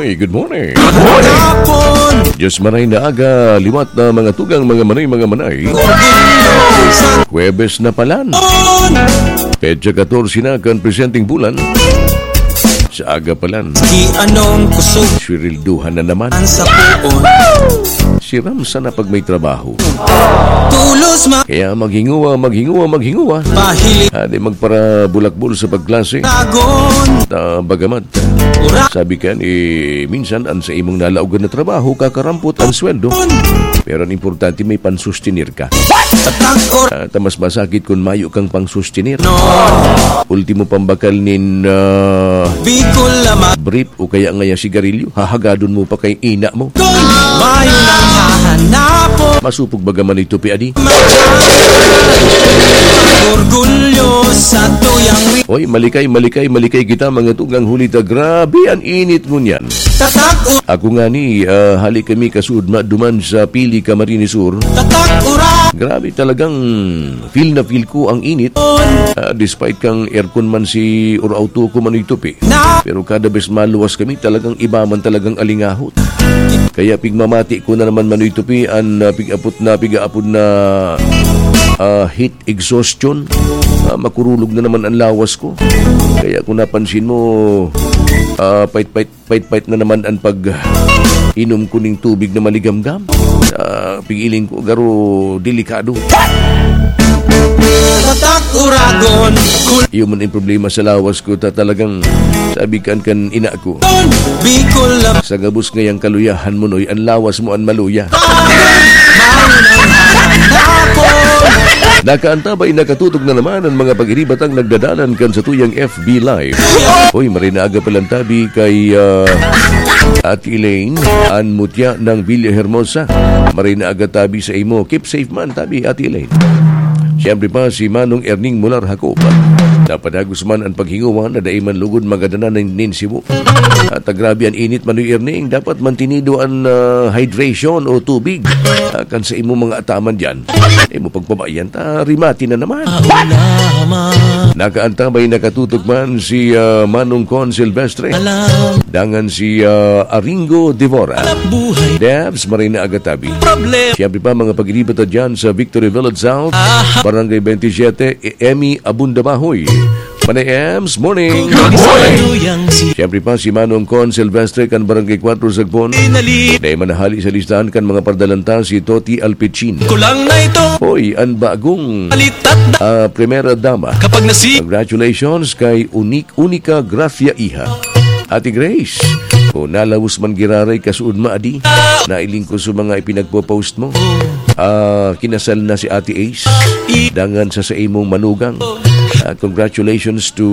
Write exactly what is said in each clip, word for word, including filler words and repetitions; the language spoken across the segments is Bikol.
Hey, good morning. Hapon. Diyos maray na aga, liwat na mga tugang, mga manay, mga manay. Huwebes na palan. Petsa katorse na kan presenteng bulan. Sa aga palan. Di anong kusog. Swirilduhan na naman. Ang sapuon. Siram sana pag may trabaho. Tulos ma- Kaya maghinguwa, maghinguwa, maghinguwa. Pahili. Adi magparabulakbol sa pagklase. Tagon. Ta, bagamat. Ura. Sabi kan, eh, minsan an sa imong nalaogan na trabaho, kakarampot an sweldo. Pero an importante, may pansustenir ka. Tatak or- Ah, ta mas masakit kun mayo kang pangsustenir. No. Ultimo pambakal nin, ah, Bicol naman. Brief o kaya ngaya sigarilyo, hahagadon mo pa kay ina mo. Kun mayo nang hahanapon. Masupog baga man ito, pi, adi? Orgulyo sa tuyang ri- Oy, malikay, malikay, malikay kita, mga tugang, huli ta grabe an init ngunyan. Tatak u- Ako ngani, ah, hali kami kasuodma duman sa Pili, Camarines Sur. Tatak ura- Grabe talagang feel na feel ko ang init. Ah, despite kang aircon man si or auto ko, Manoy Tupi. Na- Pero kada bes maluwas kami, talagang iba man talagang alingahot. Kaya pigmamati ko na naman, Manoy Tupi, an, ah, pig-apot na, pig-aapod na, ah, heat exhaustion. Ah, makurulog na naman ang lawas ko. Kaya kung napansin mo, ah, pait-pait pait-pait na naman an pag-inom ko ning tubig na maligamgam. Ah, pigiling ko, garo delikado. Tatak uragon, kul- Iyo man ang problema sa lawas ko, ta talagang sabi kan, kan ina ko, Bicol na- Sa gabos ngayang kaluyahan mo, Noy, an lawas mo an maluya. Nakaantabay, nakatutok na naman ang mga pag-iribatang nagdadalan kan satuyang F B Live. Hoy, maray na aga palan tabi kay, ah, Ate Elaine, an mutya ng Villa Hermosa. Maray na aga tabi sa imo. Keep safe man tabi, Ate Elaine. Siyempre pa, si Manong Erning Mular Jacob. Napadagos man an paghinguwa na dai man lugod magadanan nin, nin sibo. At grabe an init, Manoy Erning. Dapat mantinido an, ah, hydration o tubig. Ah, kan sa imo mga ataman diyan. Imo pagpabayan, ta rimati na naman. Nakaantabay, nakatutok man si, ah, Manong Con Silvestre. Dangan si, ah, Aringo Devora. Debs, maray na aga tabi. Siyempre pa, mga pag-iriba ta dyan sa Victory Village South, Barangay twenty-seven, E-, Emmy Abunda Bahoy. Manay Ems, morning. Good morning. Siyempre pa, si Manong Con Silvestre kan Barangay Cuatro Sagpon. Dai man nahali sa listahan kan mga pardalan ta si Toti Alpecin. Kulang na ito. Hoy, an bagong, Balitat na. ah, primera dama. Kapag nasi- Congratulations kay Unique Unica Gracia Iha. Ate Grace, o nalawos man giraray kasuod maadi, nailing ko sa mga ipinagpo-post mo. Ah, kinasal na si Ate Ace. Dangan sa, sa imong manugang. Ah, congratulations to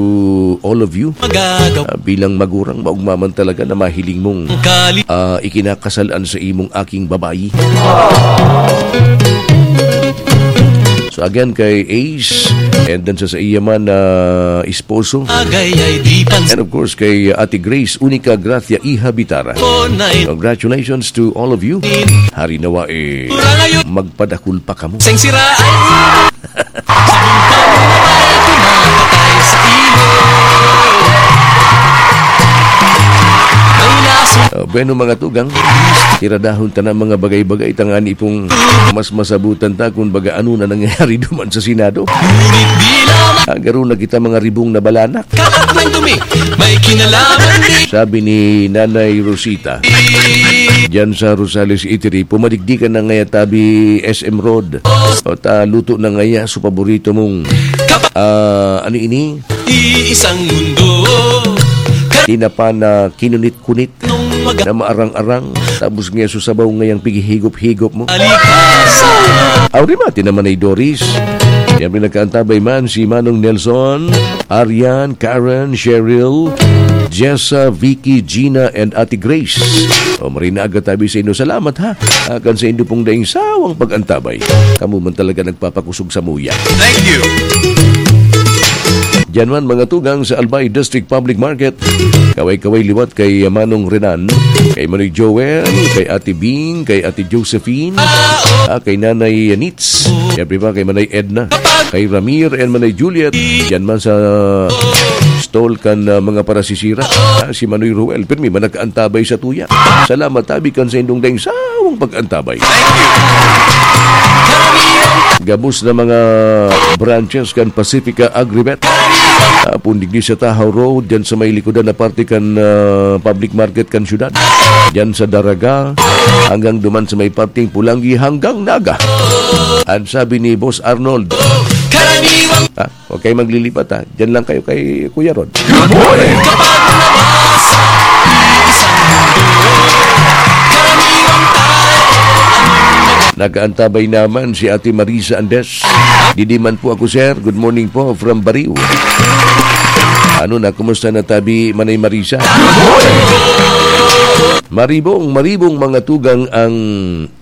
all of you. Magagaw- Ah, bilang magurang, maugma man talaga na mahiling mong, Kali- ah, ikinakasal an sa imong aking babayi. So again, kay Ace, and then sa, sa iya man na esposo. Agay ay di pan- And of course, kay Ate Grace Unica Gracia Iha Bitara. Ko na in- Congratulations to all of you. Hari nawa eh, Ura ngayon. Magpadakul pa kamo. Seng sira ay ulo. Sa bintang na may tumapatay sa ilog. May lason. Ah, bueno, mga tugang, tiradahon ta na mga bagay-bagay, tangani pong mas masabutan ta kung baga ano na nangyayari duman sa Senado. Ngunit di lamang Ah, garo na kita mga ribong na balanak. Kalat ng dumi, may kinalaman din. Sabi ni Nanay Rosita, diyan sa Rosales Eatery, pumadigdi ka na ngaya tabi S M Road. O ta, luto na ngaya so paborito mong, ah, ano ini? Iisang mundo. Tinapa na kinunit-kunit. Nung maga- Na maarang-arang, tapos ngayon susabaw ngayang pighihigop-higop mo. Alipasan. Aw, rimati naman ay Doris. Siyempre, nagkaantabay man si Manong Nelson, Arian, Karen, Cheryl, Jessa, Vicky, Gina, and Ate Grace. O, maray na aga tabi sa inyo. Salamat, ha. Akan sa inyo pong daing sawang pag-antabay. Kamo man talaga nagpapakusog sa muya. Thank you. Diyan man, mga tugang, sa Albay District Public Market. Kaway-kaway liwat kay Manong Renan, kay Manoy Joel, kay Ate Bing, kay Ate Josephine, ah, kay Nanay Nits, siyempre pa kay Manay Edna, kay Ramir and Manay Juliet. Diyan man sa stall kan, ah, mga parasisira, ah, si Manoy Ruel, pirmi man nakaantabay sa tuya. Salamat tabi kan sa indong daing sawang pag-antabay. Gabos na mga branches kan Pacifica Agrivet. Ah, pundigdi sa Tahaw Road, dyan sa may likodan na parte kan, ah, public market kan syudad. Dyan sa Daraga, hanggang duman sa may parteng Pulanggi, hanggang Naga. Ang sabi ni Boss Arnold, ah, huwag kayo maglilipat, ha. Diyan lang kayo kay Kuya Rod. Good morning! Nag-aantabay naman si Ate Marisa Andes. Didi man po ako, sir. Good morning po from Bariw. Ano na, kumusta na tabi, Manay Marisa? Maribong, maribong mga tugang ang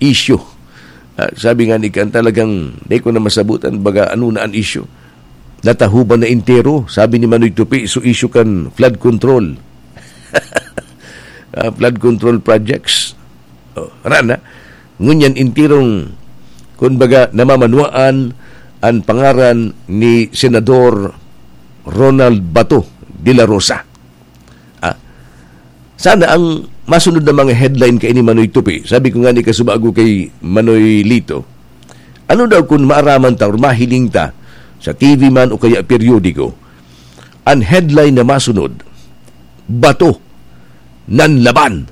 issue. Ah, sabi nga ni Kan, talagang di ko na masabutan, baga ano na ang issue. Natahuban na entero, sabi ni Manoy Tupi, so issue kan flood control. Ah, flood control projects. Oh, rana. Ngunyan enterong, kumbaga, namamanwaan ang pangaran ni Senador Ronald Bato de la Rosa. Ah, sana ang masunod na mga headline kay ni Manoy Tupi. Sabi ko nga ni kasubago kay Manoy Lito, ano daw kun maaraman ta or mahiling ta sa T V man o kaya periodiko, ang headline na masunod, "Bato, nanlaban."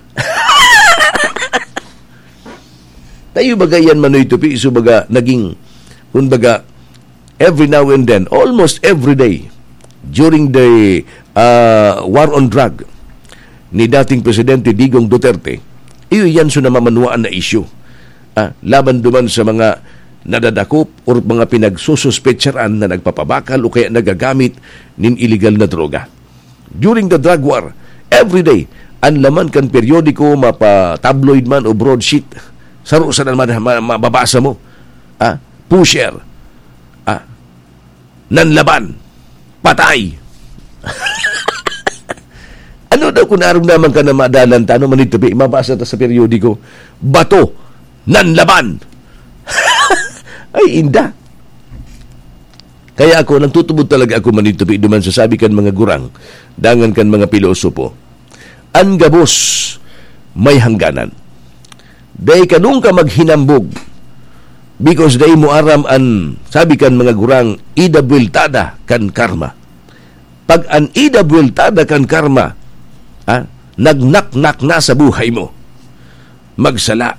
Tayo baga yan, Manoy Tupi, so baga naging, kumbaga, every now and then, almost every day, during the, ah, war on drug ni dating Presidente Digong Duterte, iyo yan so namamanwaan na issue. Ah, laban duman sa mga nadadakop or mga pinagsususpetsaran na nagpapabakal o kaya nagagamit nin iligal na droga. During the drug war, every day, ang laman kan periodiko, mapa-tabloid man o broadsheet, saro sana man ma-, mababasa mo. Ah, pusher. Ah, nanlaban. Patay. Ano daw kung arog naman ka na madalan ta, ano man ito, mabasa ta sa periodiko? Bato. Nanlaban. Ay, inda. Kaya ako, nagtutubod talaga ako, Manoy Tupi, duman sa sabi kan mga gurang, dangan kan mga pilosopo. An gabos may hangganan. Dai ka nung ka maghinambog, because dai mo aram an, sabi kan mga gurang, ida buweltada kan karma. Pag an ida buweltada kan karma, ha, nagnaknak na sa buhay mo, magsala,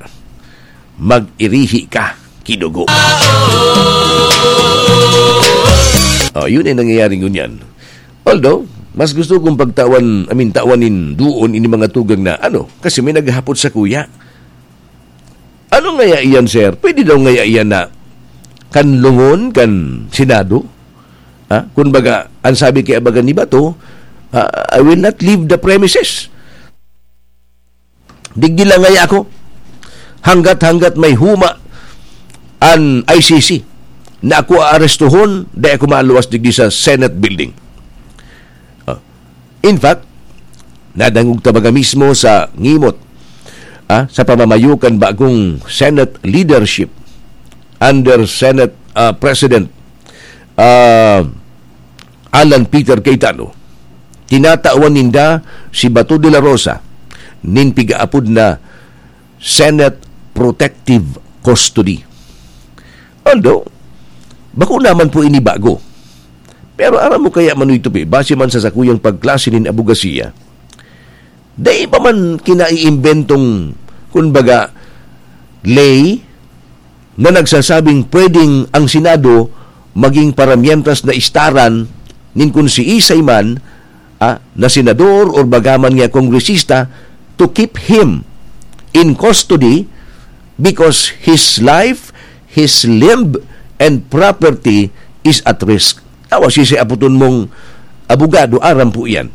mag-irihi ka ki dugo. Oh, yun ay nangyayari ngunyan. Although, mas gusto kong pagtawan, I mean, tawan nin duon ini mga tugang na, ano, kasi may naghahapot sa kuya. Ano ngaya iyan, sir? Pwede daw ngaya iyan na kanlungon kan Senado? Ha? Kun baga, ang sabi kay abagan ni Bato, ah, "I will not leave the premises." Digdi lang ngaya ako. Hanggat-hanggat may huma an I C C na ako aarestuhon, dai ako maluwas digdi sa Senate building. Ah, in fact, nadangog ta baga mismo sa ngimot, ah, sa pamamayo kan bagong Senate leadership under Senate, ah, President, ah, Alan Peter Cayetano, tinatawan ninda si Bato de la Rosa nin pigaapod na Senate Protective Custody. Although, bako naman po ini bago. Pero aram mo kaya, Manoy Tupi, base man sa sakuyang pagklase nin abogasiya, dai pa man kinaiimbentong, kun baga, ley na nagsasabing pwedeng ang Senado maging paramientras na istaran nin kun siisay man, ah, na senador or bagaman nga kongresista to keep him in custody because his life, his limb, and property is at risk. Awa, sisi aputon mong abogado, aram po iyan.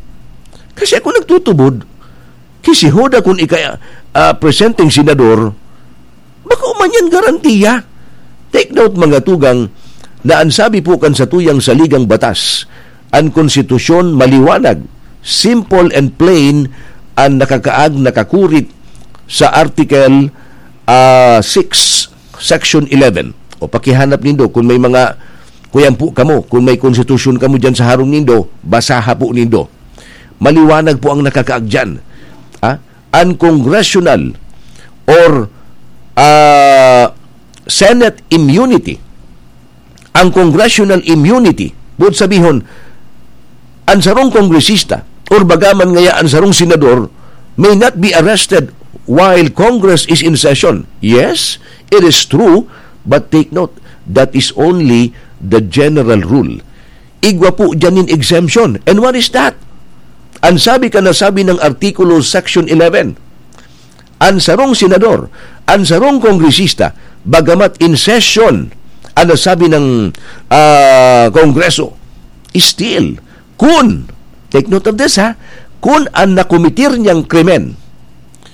Kasi ako nagtutubod, ki si Hoda kun ika, ah, presenting senador, bako man yan garantiya. Take note, mga tugang, na ang sabi po kan satuyang saligang batas, An konstitusyon maliwanag, simple and plain, an nakakaag, nakakurit sa Article, ah, six, Section eleven. O pakihanap nindo kung may mga, kuyang po kamo, kung may konstitusyon kamo diyan sa harong nindo, basaha po nindo. Maliwanag po ang nakakaag diyan. Ha? An congressional or, ah, Senate immunity, ang congressional immunity, buot sabihon, an sarong kongresista or bagaman ngaya an sarong senador may not be arrested while Congress is in session. Yes, it is true, but take note, that is only the general rule. Igwa po diyan nin exemption. And what is that? An sabi ka na sabi ng Artikulo Section eleven, an sarong senador, an sarong kongresista, bagamat in session, an nasabi ng, ah, Kongreso, still, kun, take note of this, ha, kun an nakometer niyang krimen,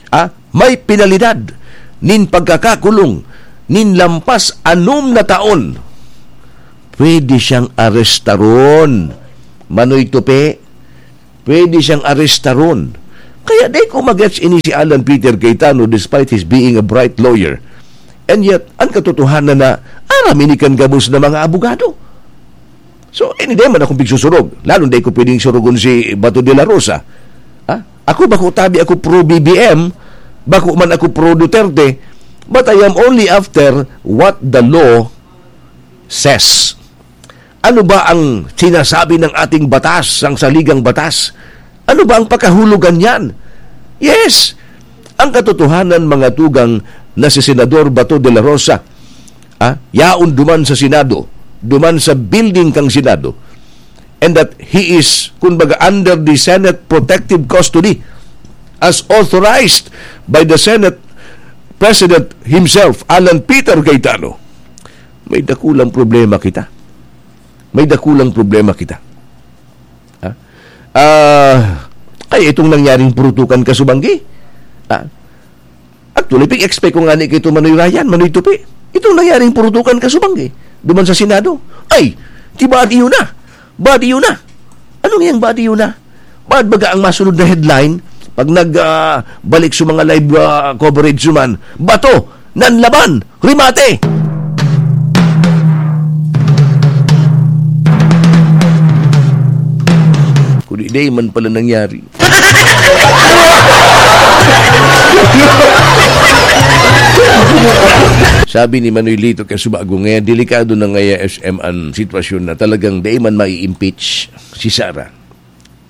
ah, may penalidad nin pagkakakulong nin lampas anom na taon, pwede siyang arestaron. Manoy Tupi, pwede siyang arestaron. Kaya di ko magets ini si Alan Peter Cayetano, despite his being a bright lawyer. And yet, ang katotohanan na aram ini kan gabos na mga abogado. So, ini di man akong pigsusurog. Lalo di ko pwedeng surugon si Bato de la Rosa. Ha? Ako, bako tabi ako pro B B M, bako man ako pro Duterte, but I am only after what the law says. Ano ba ang sinasabi ng ating batas, ang saligang batas? Ano ba ang pakahulogan niyan? Yes, ang katotohanan, mga tugang, na si Senador Bato de la Rosa, ah, yaon duman sa Senado, duman sa building kang Senado, and that he is, kumbaga, under the Senate protective custody as authorized by the Senate President himself, Alan Peter Cayetano. May dakulang problema kita. May dakulang problema kita. Ha? Ah, kaya itong nangyaring purutukan kasubanggi, ha? Actually, pig-expect ko nga ni kay Manoy Ryan, Manoy Tupi. Itong nangyaring purutukan kasubanggi, duman sa Senado. Ay, di ba, di yun na? Ba, di yun na? Ano ngayang ba, di yun na? Ba't baga ang masunod na headline, pag nag, ah, balik sa mga live, ah, coverage naman, Bato, nanlaban, rimate! Kundi di man pala nangyari. Sabi ni Manoy Lito Casubago, ngaya delikado na ngaya S M an sitwasyon na talagang dai man mai-impeach si Sara.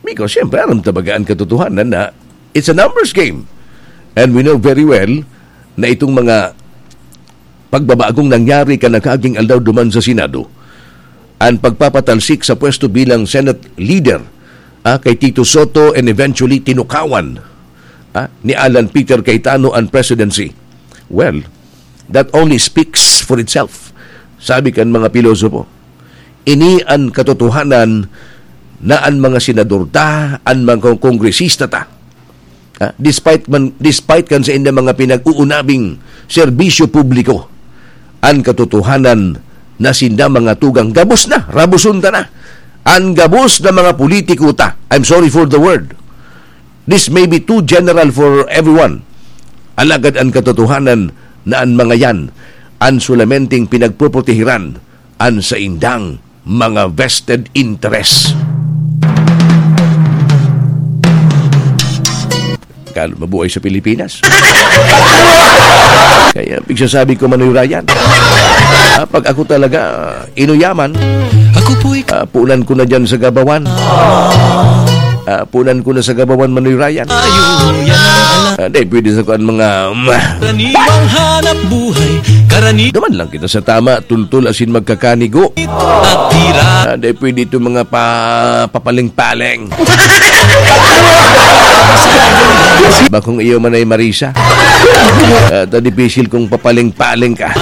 Because, siyempre, aram ta baga an katotohanan na it's a numbers game. And we know very well na itong mga pagbabagong nangyari kan nakaaging aldaw duman sa Senado, an pagpapatalsik sa pwesto bilang Senate leader, ah, kay Tito Sotto and eventually tinukawan, ah, ni Alan Peter Cayetano an presidency. Well, that only speaks for itself, sabi kan mga pilosopo. Ini an katotohanan na an mga senador ta, an mga kongresista ta, ah, despite man, despite kan saindang mga pinag-uunabing serbisyo publiko, an katotohanan na sinda, mga tugang, gabos na, rabuson ta na. An gabos na mga politiko ta, I'm sorry for the word. This may be too general for everyone. Alagad an katotohanan na an mga yan an solamenteng pinagpoprotehiran an saindang mga vested interest. Kalo mabuhay sa Pilipinas. Kaya pigsasabi ko, Manoy Ryan, ah, pag ako talaga, ah, inuyaman, Ako po'y ah, punan ko na dyan sa gabawan. Ah, punan ko na sa gabawan, Manoy Ryan. Ayo, yan ang alam. Ah, di pwede sa kuan mga, um, Karaniwang hanap buhay, karani- Duman lang kita sa tama, tultul asin magkakanigo. At tira. Ah, di pwede itong mga pa-, papaling-paling. Bakong iyo man ay Marisa. Ah, ta dipisil kong papaling-paling ka.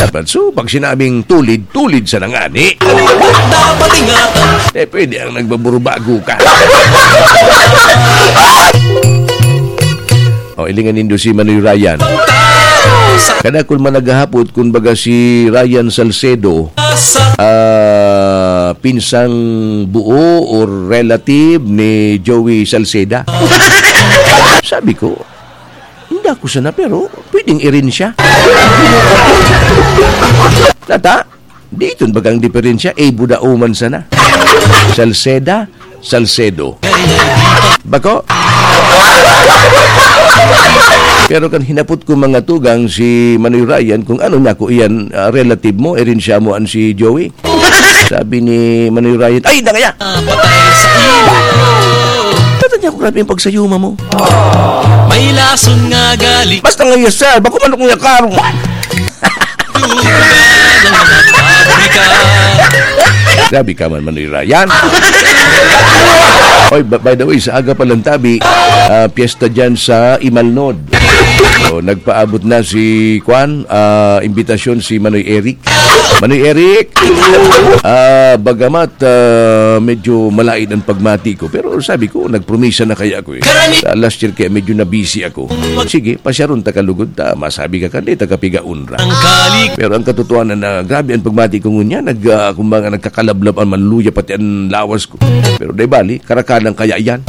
Dapat so, pag sinabing tulid, tulid sa nangani. Dapat ingatan. Eh, pwede ang nagbaburbago ka. O, ilingan nindo si Manoy Ryan. Kada kun man naghahapot, kun baga si Ryan Salcedo, ah, pinsang buo or relative ni Joey Salceda. Sabi ko, "Hindi ako sana, pero pwedeng irin siya." Nata? Di iton bagang diferensya, eh, buda uman sana. Salceda, Salcedo. Bako? Pero kan hinapot ko mga tugang si Manoy Ryan kung ano niya ko iyan, ah, relative mo, erensya mo an si Joey. Sabi ni Manoy Ryan, "Ay, na kaya!" Patay sa iyo. Tata niya ko, "Grabe yung pagsayuma mo." May lason nga galing. Basta nga, "Yes, sir. Bako man akong yakaro." Grabe ka man, Manoy Ryan. Oy, ba-, by the way, sa aga pa lang tabi, ah, piyesta dyan sa Imalnod. So, nagpaabot na si, kwan, ah, imbitasyon si Manoy Eric. Manoy Eric, ah, bagamat, ah, medyo malain ang pagmati ko, pero sabi ko, nagpromisa na kaya ako eh. Sa last year kaya medyo nabisi ako. Sige, pasyaron ta kalugod ta, masabi ka kan di ta kapigaon ra. Pero ang katotohanan na grabe ang pagmati ko ngunyan, nag, ah, kumbaga nagkakalablab ang manluya pati ang lawas ko. Pero di bali, karakanan kaya yan.